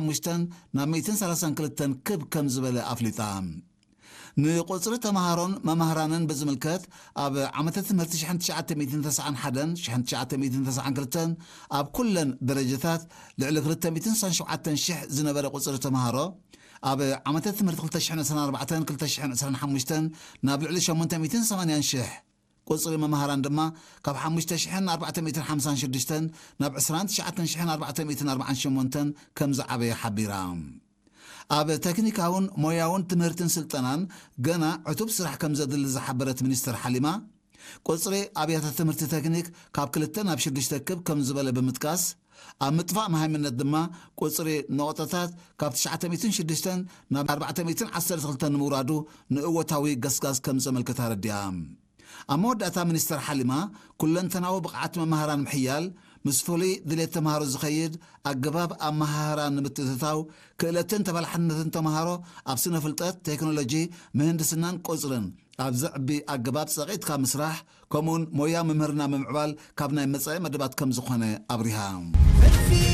ሓሙሽተን ናብ ሚእትን ሰላሳን ክልተን ክብ ከም ዝበለ ኣፍሊጣ። ንቁጽሪ ተምሃሮን መማህራንን ብዝምልከት፣ ኣብ ዓመተ ትምህርቲ ሽሕን ትሽዓተ ሚእትን ተስዓን ሓደን ሽሕን ትሽዓተ ሚእትን ተስዓን ክልተን ኣብ ኩለን ደረጃታት ልዕሊ ክልተ ሚእትን ስሳን ሸውዓተን ሽሕ ዝነበረ ቁጽሪ ተምሃሮ፣ ኣብ ዓመተ ትምህርቲ ክልተ ሽሕን ዕስራን ኣርባዕተን ክልተ ሽሕን ዕስራን ሓሙሽተን ናብ ልዕሊ ሸሞንተ ሚእትን ሰማንያን ሽሕ፣ ቁጽሪ መማህራን ድማ ካብ ሓሙሽተ ሽሕን ኣርባዕተ ሚእትን ሓምሳን ሽዱሽተን ናብ ዕስራን ትሽዓተን ሽሕን ኣርባዕተ ሚእትን ኣርባዓን ሸሞንተን ከም ዝዓበየ ሓቢራ። ኣብ ተክኒካውን ሞያውን ትምህርትን ስልጠናን ገና ዕቱብ ስራሕ ከም ዘድሊ ዝሓበረት ሚኒስትር ሓሊማ፣ ቁጽሪ ኣብያተ ትምህርቲ ተክኒክ ካብ ክልተ ናብ ሽዱሽተ ክብ ከም ዝበለ ብምጥቃስ፣ ኣብ ምጥፋእ መሃይምነት ድማ ቁጽሪ ነቑጣታት ካብ ትሽዓተ ሚእትን ሽዱሽተን ናብ ኣርባዕተ ሚእትን ዓሰርተ ክልተን ንምውራዱ ንእወታዊ ገስጋስ ከም ዘመልክት ኣረዲኣ። ኣብ መወዳእታ ሚኒስትር ሓሊማ፣ ኩለንተናዊ ብቕዓት መማህራን ምሕያል፣ ምስ ፍሉይ ድሌት ተምሃሮ ዝኸይድ ኣገባብ ኣመሃህራ ንምትእትታው፣ ክእለትን ተበላሕነትን ተምሃሮ ኣብ ስነ ፍልጠት፣ ቴክኖሎጂ፣ ምህንድስናን ቁጽርን ኣብ ዘዕቢ ኣገባብ ጸቒጥካ ምስራሕ፣ ከምኡውን ሞያ ምምህርና ምምዕባል ካብ ናይ መጻኢ መደባት ከም ዝኾነ ኣብሪሃ።